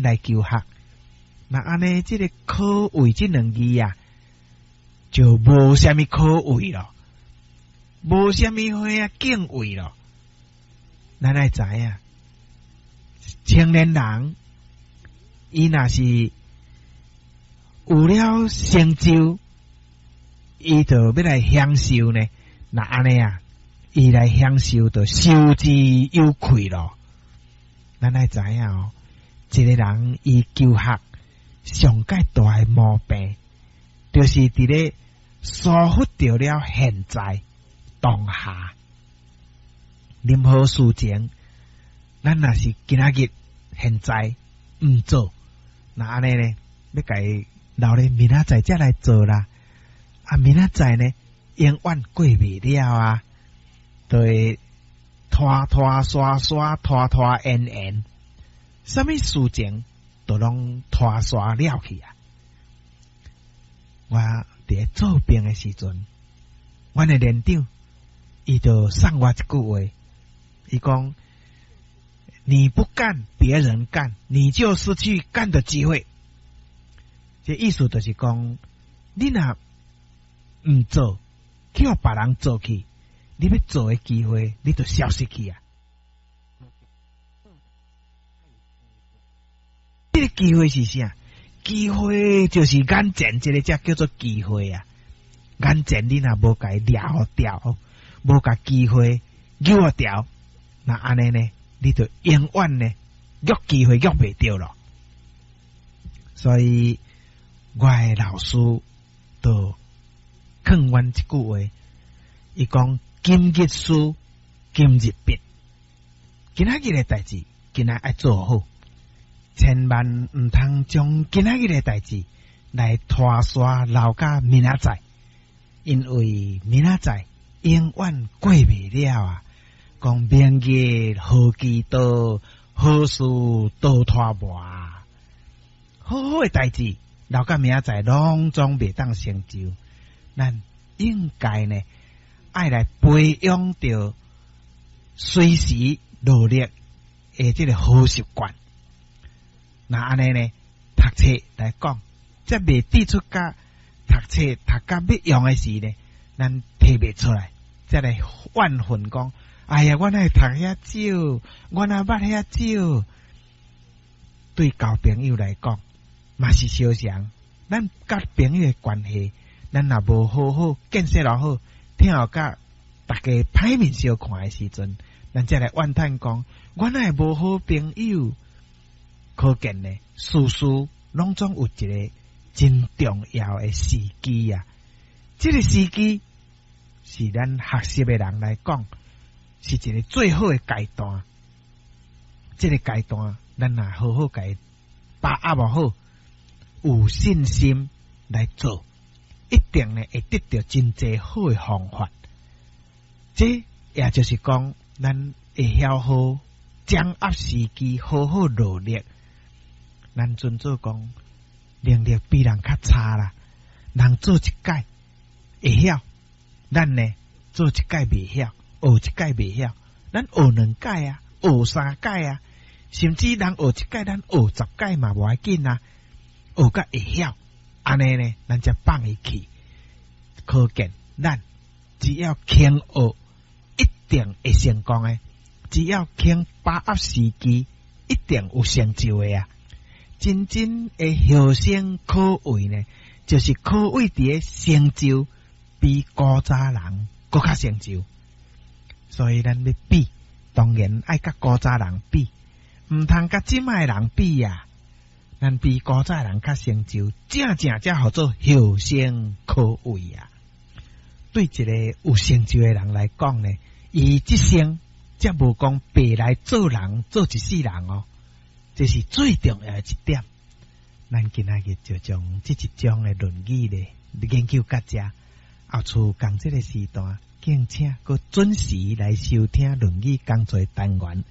來求學。那按呢，這个可畏這兩字啊，就無啥物可畏咯，無啥物好啊敬畏咯。咱愛知影，青年人伊若是有了成就，伊就欲來享受呢。那按呢啊，伊來享受就受之有愧咯。咱愛知影哦，一个人伊求學上蓋大的毛病，就是佇咧疏忽著了現在當下。任何事情，咱若是今仔日現在毋做，那按呢呢，欲共伊留咧明仔載才來做啦。啊，明仔載呢，永遠過袂了啊，就會拖拖沙沙，拖拖延延，啥物事情都攏拖沙了去啊！我佇咧做兵的時陣，阮的連長伊就送我一句話，伊講：你不幹，別人幹，你就失去幹的機會。這意思就是講，你若毋做，叫別人做去，你欲做的機會，你就消失去啊！這个機會是啥？機會就是眼前這个才叫做機會啊！眼前你若無共伊掠予牢，無共機會揪予牢，那按呢呢，你就永遠呢，約機會約袂著咯。所以，我的老師就勸阮一句話，伊講：今日事，今日畢。今仔日的代誌，今仔愛做好，千萬毋通將今仔日的代誌來拖沙留到明仔載，因為明仔載永遠過袂了啊！講明日何其多，好事多拖磨。好好的代誌留到明仔載，攏總袂當成就。咱應該呢，愛來培養著隨時努力的這个好習慣。那按呢呢，讀冊來講，才袂滴出甲讀冊讀甲欲用的時呢，咱提袂出來，才來怨恨講：哎呀，我哪會讀遐少，我哪捌遐少。對交朋友來講，嘛是相像。咱佮朋友的關係，咱若無好好建設落好，聽予佮大家歹面相看的時陣，咱才來怨嘆講，我哪會無好朋友？可見呢，事事攏總有一个真重要的時機啊！這个時機是咱學習的人來講，是一个最好的階段。這个階段，咱若好好共伊把握好，有信心來做，一定呢會得著真濟好的方法。這也就是講，咱會曉好掌握時機，好好努力。咱尊做講能力比人較差啦，人做一擺會曉，咱呢做一擺袂曉，學一擺袂曉，咱學兩擺啊，學三擺啊，甚至人學一擺，咱學十擺嘛無要緊啊，學甲會曉，按呢呢，咱才放伊去。可見咱只要肯學，一定會成功的；只要肯把握時機，一定有成就的啊！真正的後生可畏呢，就是可畏佇咧成就比古早人閣較成就。所以咱欲比，當然愛佮古早人比，毋通佮這擺的人比啊！咱比古早人較成就，正正才號做後生可畏啊！對一个有成就的人來講呢，伊這生才無講白來做人，做一世人哦。這是最重要的一點。咱今仔日就將這一章的論語咧研究到這，後次仝這个時段，敬請閣準時來收聽論語講座單元。